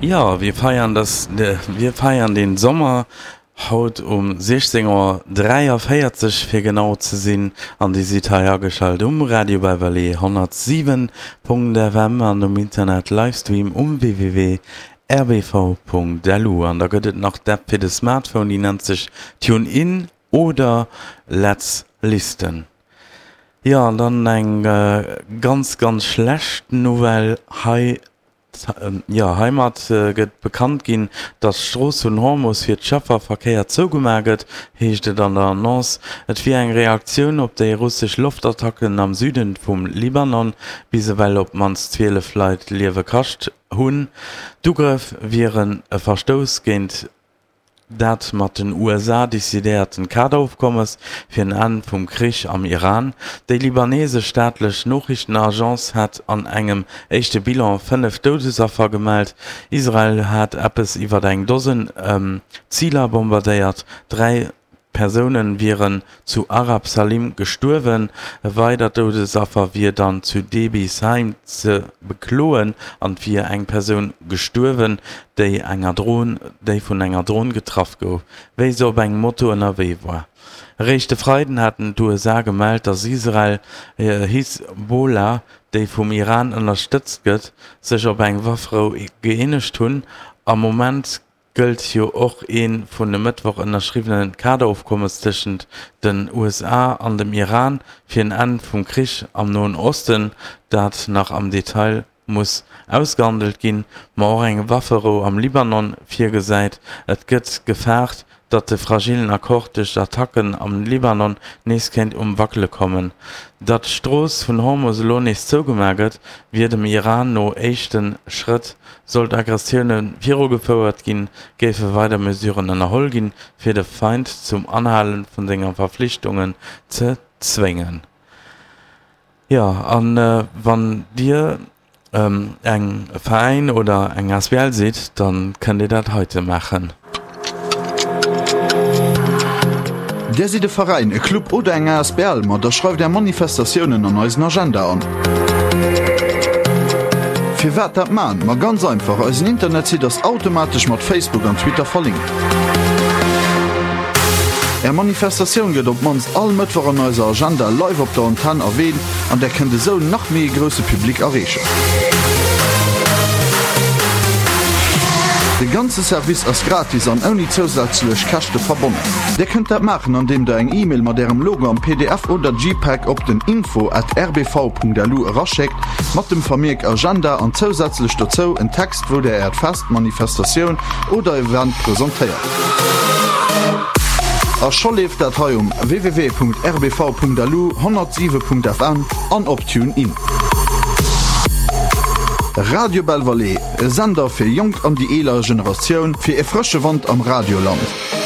Jo, wir feiern das, wir feiern den Sommer haut um 16 Auer 43 fir genau ze sinn an Dir sidd hei ageschalt um Radio Beverley 107.fm an um Internet Livestream um www.rbv.lu. An da gëtt et nach d'App fir de Smartphone, déi nennt sech TuneIn oder Let's Listen. Jo, an dann eng ganz, ganz schlecht Nouvelle hei. Jo, heimat gëtt bekannt ginn, datt d'Strooss vun Hormus fir d'Schëfferverkéier zougemaach gëtt, heescht et an der Annonce. Et wier eng Reaktioun op déi russesch Loftattacken am Süden vum Libanon, bis ewell op d'mannst 12 Leit d'Liewe kascht hunn. D'Ugrëff wieren e Verstouss géint Dat mat den USA decidéierten Kaderofkommes fir en Enn vum Krich am Iran. Déi libanesesch staatlech Noriichtenagence hat an engem éischte Bilan 5 Doudesaffer gemellt. Israel hat eppes iwwer eng Dosen Ziler bombardéiert. 3 Persoune wieren zu Arab Salim gestuerwen. E weidert Doudesaffer wier dann zu Debi Saim ze bekloen an et wier eng Persoun gestuerwen, déi enger Dron, déi vun enger Dron getraff gouf, wéi se op engem Moto ënnerwee war. Eréischt de Freiden haten d'USA gemellt, datt Israel Hisbollah, déi vum Iran ënnerstëtzt gëtt, sech op eng Wafferou gëeenegt hunn. Am Moment gëllt jo och ee vun e Mëttwoch ënnerschriwwene Kaderofkommes tëschent den USA an dem Iran fir en Enn vum Krich am Noen Osten, dat nach am Detail muss ausgehandelt ginn, ma och eng Wafferou am Libanon virgesäit. Et gëtt gefaart, datt de fragillen Accord duerch d'Attacken am Libanon nees kéint um Wackele kommen. Datt d'Strooss vun Hormus elo nees zougemaach gëtt, wier dem Iran no éischte Schrëtt Sollt Aggressioune virugefouert ginn, géife weider Mesuren ënnerholl ginn, fir de Feind zum Anhale vun senger Verflichtungen ze zwéngen. Jo, a wann Dir eng Veräin oder eng asbl sidd, da kënnt Dir dat heite maachen. Där sidd e Veräin, e Club oder eng asbl? Ma da schreift är Manifestatiounen an eisen Agenda an. Firwat dat man? Ma ganz einfach, eisen Internetsite ass automatesch mat Facebook an Twitter verlinkt. Är Manifestatioun gëtt op d'mannst all Mëttwoch an eiser Agenda live op der Antenn erwähnt an där kënnt esou nach méi e grousse Public erreechen. De ganze Service ass gratis an ouni zousätzlech Käschte verbonnen. Dir kënnt dat maachen an deem der eng E-Mail mat ärem Logo am pdf oder JPEG op den info at rbv.lu eraschéckt mat dem Vermierk Agenda an zousätzlech dozou en Text wou der äert Fest, Manifestatioun oder Event presentéiert. A scho leeft dat hei um www.rbv.lu, 107.fm an op TuneIn. Radio Belval, e Sender fir jonk an déi eeler Generatioun, fir e frësche Wand am Radioland.